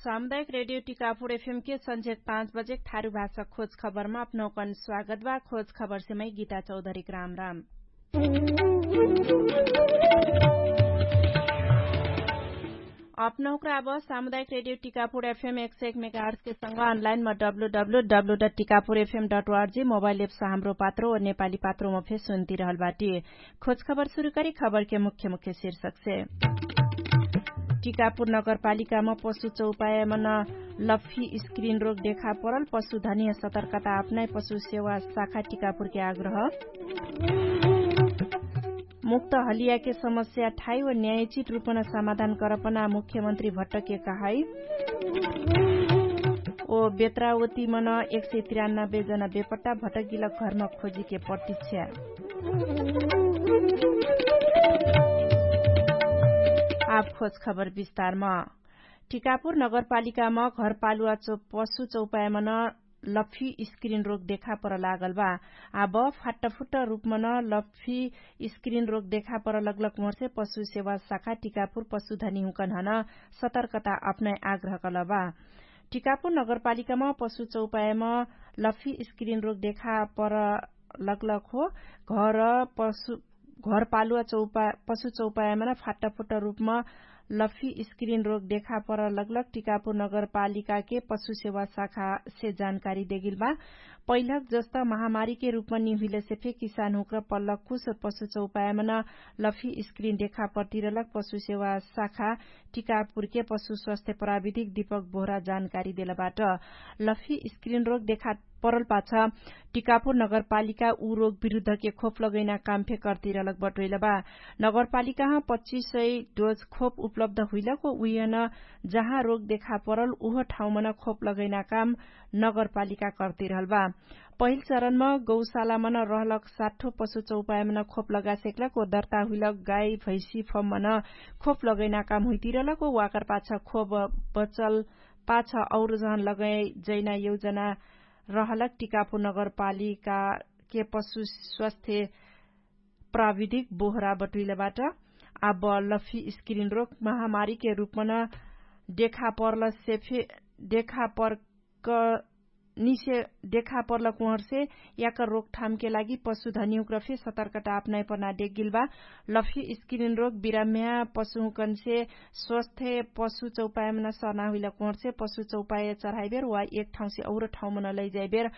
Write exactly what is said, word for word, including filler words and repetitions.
सामुदायिक रेडियो टिकापुर एफएम के सन्झेक पाँच बजेक थारु भाषा खोज खबरमा अपनौकन स्वागत बा। खोज खबरसे मै गीता चौधरीक राम राम। अपनौकरा अब सामुदायिक रेडियो टिकापुर एफएम एक सय एक मेगाहर्सके संग अनलाइनमा W W W dot Tikapur FM dot ORG mobile apps Hamro Patro व नेपाली पात्रोमा फे सुन्तिरहल बाटी। खोज खबर सुरु करी खबरके मुख्य मुख्य शीर्षकसे। टिकापुर नगरपालिकामा पशु चौपायमन लफी स्क्रिन रोग देखा परल पशुधनिया सतर्कता अपनाइ पशु सेवा शाखा टिकापुरके आग्रह। मुक्त हलियाके समस्या ठाइ व न्यायचित रुपन समाधान करपना मुख्यमन्त्री भट्टके कहाइ। ओ बेत्रावतीमन एक सय तिरानब्बे जना बेपट्टा भट्टगिलक घरमा खोजिके प्रतीक्षा। आब खोज खबर विस्तारमा। टिकापुर नगरपालिकामा घरपालुवा पशु चौपायमन लफी स्क्रिन रोग देखा पर लागल बा। आब फाट्टफुट्ट रुपमन लफी स्क्रिन रोग देखा पर लगलक मोर्से पशु सेवा शाखा टिकापुर पशुधनी हुँकन हन सतर्कता अपनाइ आग्रह कल बा। टिकापुर नगरपालिकामा पशु चौपायम लफी स्क्रिन रोग देखा पर लगलक हो। घर पशु घरपालुवा पशु चौपायमन फाट्टफुट्ट रुपम लफी स्क्रिन रोग देखा पर लगलक टिकापुर नगरपालिकाके पशु सेवा शाखासे जानकारी देगिल बा। पहिलक जस्त महामारीके रुपम निहुइलसे फे किसान हुँक्र पल्लक कुछ पशु चौपायमन लफी स्क्रिन देखा परतिरलक पशु सेवा शाखा टिकापुरके पशु स्वास्थ्य प्राविधिक दीपक बोहरा जानकारी देलबाट। लफी स्क्रिन रोग देखा परल पाछ टिकापुर नगरपालिका उ रोग विरुद्धके खोप लगैना काम फे कर्तिरलक बटोइल बा। नगरपालिकाह पच्चिस सय डोज खोप उपलब्ध हुइलक उहियन जहाँ रोग देखा परल उह ठाउँमन खोप लगैना काम नगरपालिका कर्तिरहल बा। पहिल चरणम गौशालामन रहलक साठो पशु चौपायमन खोप लगासेक्लक ओ दर्ता हुइलक गाई भैसी फममन खोप लगैना काम हुइतिरलक ओ वाकर पाछ खोप बचल पाछ और जहन लगै जैना यौजना रहलक टिकापुर नगरपालिकाके पशु स्वास्थ्य प्राविधिक बोहरा बटुइलबाट। आब लफी स्क्रिन रोग महामारीके रुपमन देखा पर्लसे फे देखा पर्क निसे देखा पर्लक उहर्से याकर रोकठामके लागि पशुधनिहुँक्र फे सतर्कता अपनाइ पर्ना देगिल बा। लफी स्क्रिन रोग बिराम्या पशुहुँकनसे स्वस्थ पशु चौपायमन सर्ना हुइलक उहर्से पशु चौपाय चढाइबेर वा एक ठाउँसे और ठाउँमन लैजाइबेर